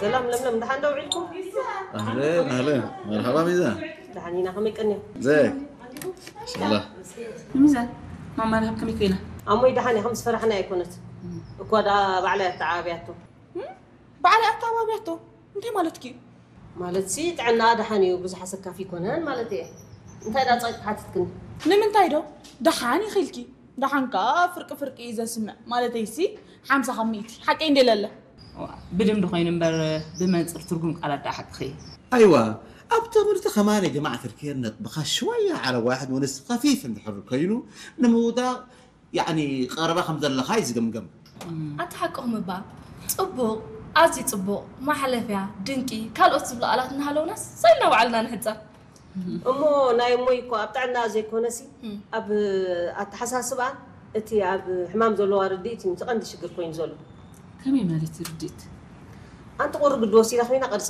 ሰላም ለምለም፣ ደሓን ዶ ውዒልኩም? اهلين اهلين، مرحبا ميزان. ደሓን ኢና፣ ከመይ ቀኒኹም? ازيك؟ ما شاء الله. ሚዛን፣ ማማ ረሃብ ከመይ ኮይና? ኣሞይ ደሓን እያ፣ ከም ዝፈራሕና ኣይኮነት። እኳ ደኣ ባዕላ እያ ኣተዓባብያቶ። ባዕላ ኣተዓባብያቶ እንታይ ማለትኪ? ማለትሲ ጥዕና ደሓን እዩ፣ ብዙሕ ኣሰካፊ ኣይኮነን ማለት እየ። እንታይ ደኣ ጸቂጥኪ ሓቲትክኒ? ንምንታይ ዶ? ደሓን ኢኺ ኢልኪ። ደሓን ከኣ ፍርቂ ፍርቂ እዩ ዘስምዕ። ማለተይሲ ሓምሳ ካብ ሚእቲ። ሓቀይ እንዴ ለለ? ብልምዲ ኮይኑ እምበር ብመንፅር ትርጉም ቃላት ደኣ ሓቅኺ። ايوه. ኣብ ትምህርቲ ከማን ጀማዓት ርኬር ነጥብኻ ሽወያ على واحد ونص خفيف እንድሕር ኮይኑ ንምውዳቕ ያኒ ቀረባ ከም ዘለኻ እዩ ዝግምገም። ኣቲ ሓቅኹም እባ ጽቡቕ፣ ኣዝዩ ጽቡቕ፣ ማሕለፍያ፣ ድንቂ፣ ካልኦት ዝብሉ ቃላት እናሃለውናስ ሰይልና ባዕልና ንሕጸር። እሞ ናይ እሞይ እኮ ኣብ ጥዕና ዘይኮነሲ ኣብ ኣተሓሳስባ እቲ ኣብ ሕማም ዘለዋ ርድኢት እዩ እቲ ቀንዲ ሽግር ኮይኑ ዘሎ። ከመይ ማለት ርድኢት? ኣንቲ ቁሪ ግዲ ወሲዳ ኮይና ቅርጸ